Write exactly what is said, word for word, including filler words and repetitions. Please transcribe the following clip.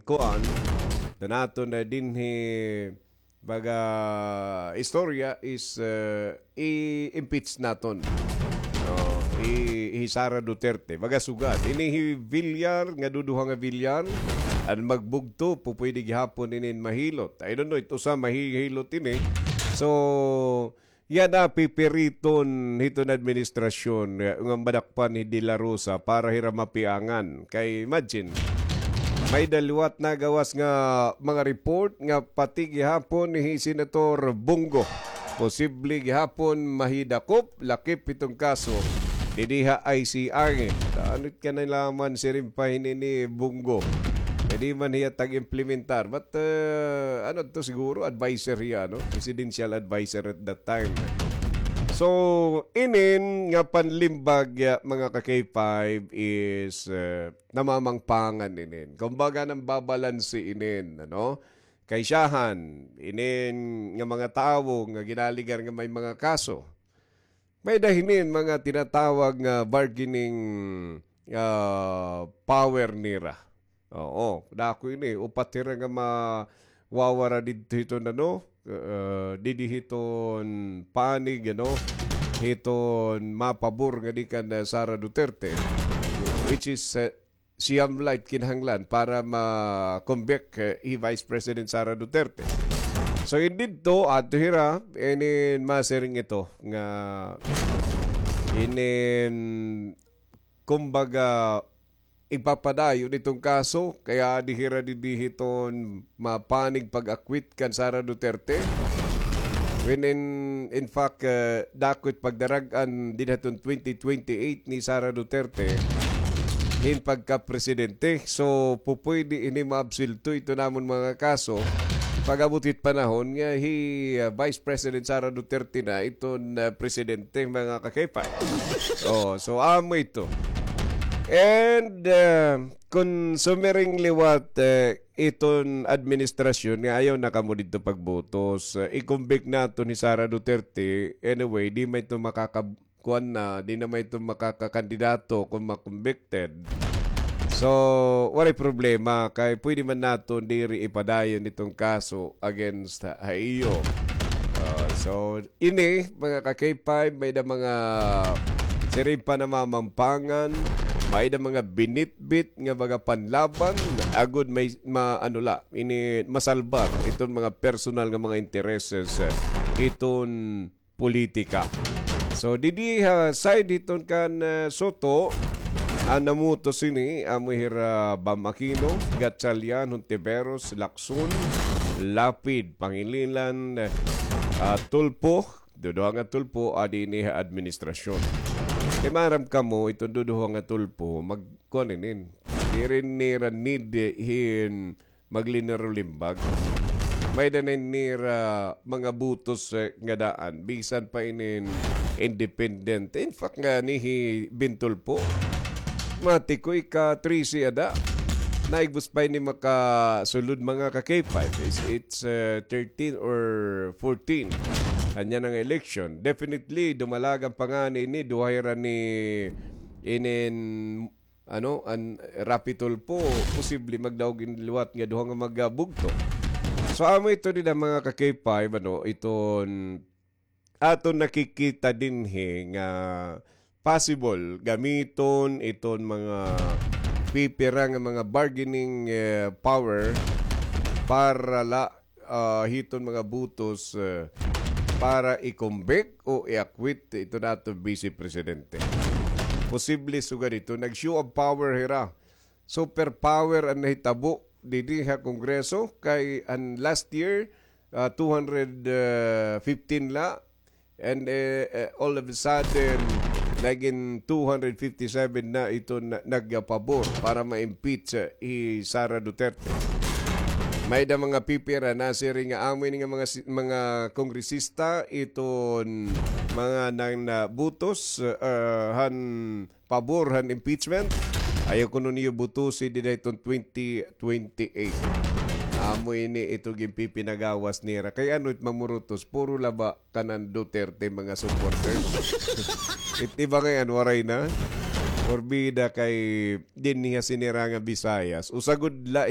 kuan, ito naton na dinhi baga istorya is, eh, i-impeach naton. Oh, i, hi Sara Duterte. Baga sugad. Ini hi Villar, nga duduha nga Villar, an magbugto, pupwede gihapon inin mahilot. I don't know, it usa mahihilot ini. So, yana pipiriton hiton administrasyon, eh, nga madakpan hi De La Rosa para hira mapiangan. Kay imagine, may-ada liwat nagawas nga mga report nga pati gihapon hi Senator Bong Go posible gihapon mahidakop, lakip hiton kaso didi ha I C I. Ano ka na laman siring pa hini ni Bong Go? Pwede man hiya tag-implementar. But, eh, ano to siguro, adviser hiya, no? Presidential adviser at that time. So, inin nga panlimbag, ya, mga ka-K five is, eh, namamangpangan inin. Kumbaga, nambabalanse inin, ano? Kay siyahan, inin nga mga tawo nga ginaligar nga may mga kaso. May-ada hinin mga tinatawag nga bargaining, ah, power nira. Oo, dako ini, upat hira nga mawawara didto hiton ano, eh, didi hiton panig, ano, hiton mapabor nga di kan, eh, Sara Duterte, which is, eh, siyam la it kinahanglan para ma-convict, eh, hi Vice President Sara Duterte. So, in didto, adto hira, inin masiring ito nga inin, kumbaga, ipapadayon iton kaso, kay adi hira didi hiton mapanig pag-acquit kan Sara Duterte. When in, in fact, eh, dako it pagdarag-an dida hiton twenty twenty-eight ni Sara Duterte hin pagkapresidente. So, pupwede ini maabsuwelto iton amon mga kaso pag-abot hit panahon nga hi, ah, Vice President Sara Duterte na iton, ah, presidente, mga ka-K five. Oh, so amo ito. And, ah, kon sumiring liwat, eh, iton administrasyon nga ayaw na kamo didto pagbutos, eh, i-convict naton hi Sara Duterte, anyway, di man ito makaka-, kuan na, di na man ito makakakandidato kon ma-convicted. So, waray problema, kay pwede man naton diri ipadayon iton kaso against ha iyo. Ah, so, ini, mga ka-K five, may-ada mga siring pa namamampangan, may-ada mga binitbit nga mga panlaban, agod may ma-, ano la, ini masalbar iton mga personal nga mga intereses, eh, iton politika. So, didi ha side hiton kan, eh, Soto, an namutos ini, amo hira Bam Aquino, Gatchalian, Hontiveros, Lacson, Lapid, Pangilinan, eh, ah, Tulfo, duduha nga Tulfo, adi ini ha administrasyon. Kay maaram kamo, iton duduha nga Tulfo, mag-, kuan inin, diri nira need hin maglinero-limbag. May-ada na nira mga butos, eh, nga daan. Bisan pa inin independent. In fact, ngani hi Ben Tulfo, mati ko ika-trese ada. Naigbos pa ini makasulod mga ka-K five. It's, it's, eh, thirteen or fourteen. Ania na nga election. Definitely, dumalagan pa ngani ini, duha hira ni inin ano, an Raffy Tulfo, posible magdaog ini liwat nga duha nga magabugto. So, amo ito dida mga ka-K five, ano, iton aton nakikita dinhi nga possible gamiton iton mga pipira nga mga bargaining, eh, power para la ah, hiton mga butos, eh, para i-convict o i-acquit ito nato Vice Presidente. Posible sugad ito, nag-show of power hira. Superpower an nahitabo didi ha Kongreso kay an last year, ah, two hundred fifteen la, and, eh, eh, all of a sudden, nagin two hundred fifty-seven na ito na, nagpabor para ma-impeach, eh, hi Sara Duterte. May-ada mga pipira nasiring nga amo ini nga mga si-, mga kongresista iton mga nang nabutos, eh, han pabor han impeachment. Ayaw kuno niyo butusi dida hiton twenty twenty-eight. Amo ini ito ginpipinagawas nira. Kay ano it mamurutos? Puro la ba kanan Duterte mga supporters? It iba ngay-an waray na. Porbida kay dinhi ha sini ra nga Visayas. Usa gud la,